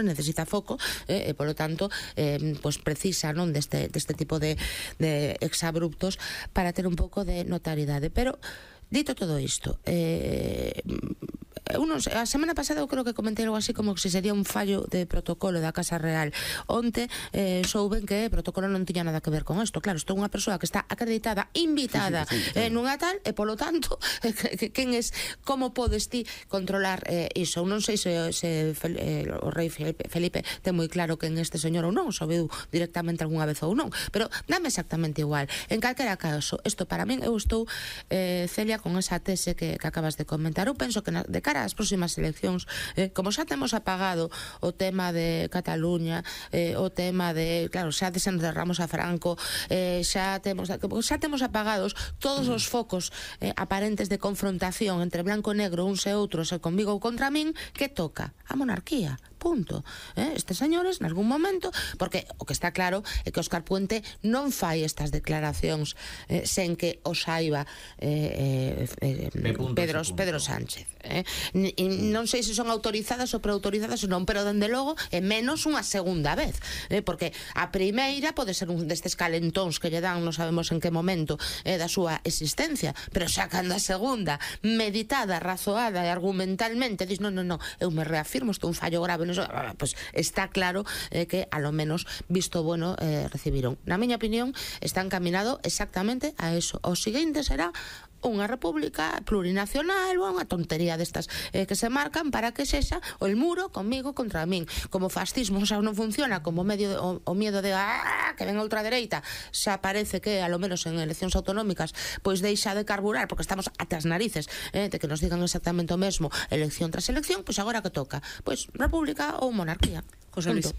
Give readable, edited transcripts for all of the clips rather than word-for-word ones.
necesita foco, e polo tanto pues precisa, non, deste tipo de exabruptos para ter un pouco de notariedade. Pero dito todo isto, a semana pasada eu creo que comentei algo así como que se sería un fallo de protocolo da Casa Real. Onte souben que o protocolo non tiña nada que ver con isto. Claro, isto é unha persoa que está acreditada, invitada nunha tal, e polo tanto quen es, como podes ti controlar iso? Non sei se o rei Felipe ten moi claro quen este señor ou non, soubiu directamente algunha vez ou non, pero dame exactamente igual. En calquera caso, isto para min, eu estou Celia con esa tese que acabas de comentar. Eu penso que de cara ás próximas eleccións, como xa temos apagado o tema de Cataluña, o tema de, claro, xa desenterramos a Franco, xa temos apagados todos os focos aparentes de confrontación entre blanco e negro, uns e outros, e conmigo ou contra min, que toca? A monarquía. Punto. Estes señores, nalgún momento, porque o que está claro é que Óscar Puente non fai estas declaracións sen que o saiba Pedro Sánchez. Non sei se son autorizadas ou preautorizadas ou non, pero dende logo é menos unha segunda vez, porque a primeira pode ser un destes calentóns que lle dan, non sabemos en que momento da súa existencia, pero xa cando a segunda, meditada, razoada e argumentalmente, dis, non, eu me reafirmo, isto é un fallo grave, pues está claro que a lo menos visto bueno recibiron. Na miña opinión está encaminado exactamente a eso. O seguinte será unha república plurinacional ou unha tontería destas que se marcan para que sexa o muro conmigo contra min. Como fascismo xa non funciona, como medio o miedo de que ven a ultradereita xa parece que a lo menos en eleccións autonómicas pois deixa de carburar porque estamos ate as narices de que nos digan exactamente o mesmo elección tras elección, pois agora que toca? Pois república ou monarquía. José Luis.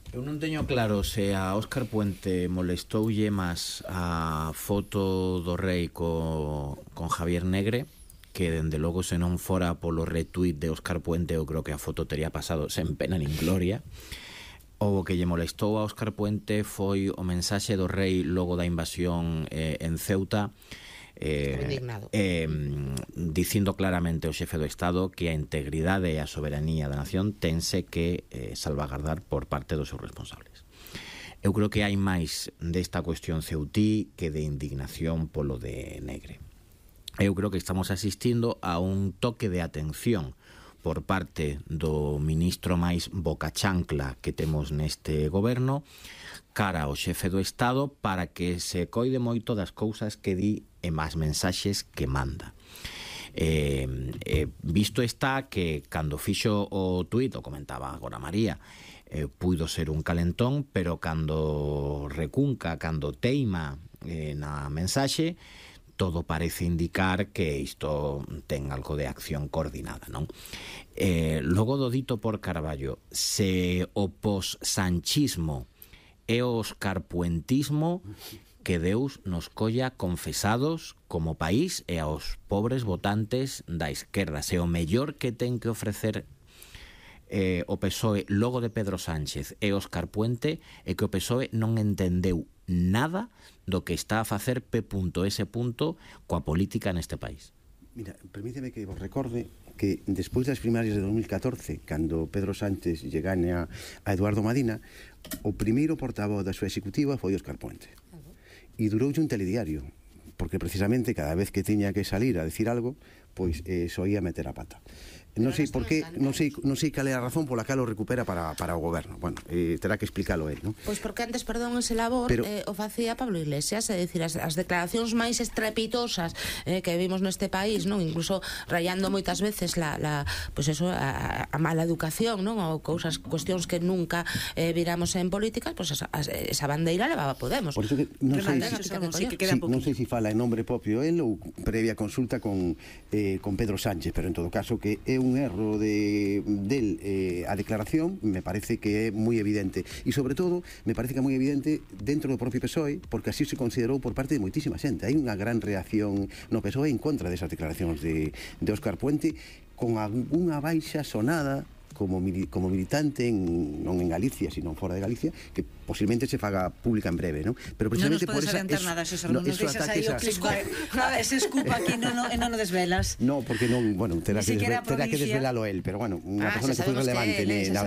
Eu non teño claro se a Óscar Puente molestoulle máis a foto do rei con Javier Negre, que dende logo se non fora polo retweet de Óscar Puente eu creo que a foto tería pasado sen pena nin gloria, ou o que lle molestou a Óscar Puente foi o mensaxe do rei logo da invasión en Ceuta, dicindo claramente ao xefe do Estado que a integridade e a soberanía da nación tense que salvagardar por parte dos seus responsables. Eu creo que hai máis desta cuestión ceutí que de indignación polo de Negre. Eu creo que estamos asistindo a un toque de atención por parte do ministro máis bocachancla que temos neste goberno cara ao xefe do Estado para que se coide moito das cousas que di e máis mensaxes que manda. Visto está que cando fixo o tuit, o comentaba agora María, puido ser un calentón, pero cando recunca, cando teima na mensaxe, todo parece indicar que isto ten algo de acción coordinada, non? Logo do dito por Carballo, se o pos-sanchismo e o oscarpuentismo, que Deus nos colla confesados como país e aos pobres votantes da esquerda. Se o mellor que ten que ofrecer o PSOE logo de Pedro Sánchez e Óscar Puente é que o PSOE non entendeu nada do que está a facer P.S. coa política neste país. Mira, permíteme que vos recorde que despois das primarias de 2014, cando Pedro Sánchez lle gane a Eduardo Madina, o primeiro portavoz da súa executiva foi Óscar Puente. E duroulle un telediario, porque precisamente cada vez que tiña que salir a decir algo, pois soía meter a pata. Non sei por qué, non sei cal é a razón pola cal o recupera para o goberno. Bueno, terá que explícalo él, non? Pois porque antes, perdón, ese labor o facía Pablo Iglesias, é dicir, as declaracións máis estrepitosas que vimos neste país, non? Incluso rayando moitas veces pois eso, a mala educación, non? Ou cuestións que nunca viramos en política, pois esa bandeira levaba Podemos. Por iso que non sei se fala en nombre propio él ou previa consulta con Pedro Sánchez, pero en todo caso que é un erro del a declaración me parece que é moi evidente e sobre todo me parece que é moi evidente dentro do propio PSOE porque así se considerou por parte de moitísima xente. Hai unha gran reacción no PSOE en contra desas declaracións de Óscar Puente con unha baixa sonada como militante, non en Galicia, sino fora de Galicia, que posiblemente se faga pública en breve, non? Pero precisamente non nos podes adiantar nada, Xosé, non nos deixas aí o clickbait. Ese scoop aquí non o desvelas. No, porque non, bueno, terá que siquiera desvelalo él, pero bueno, unha persona que foi relevante na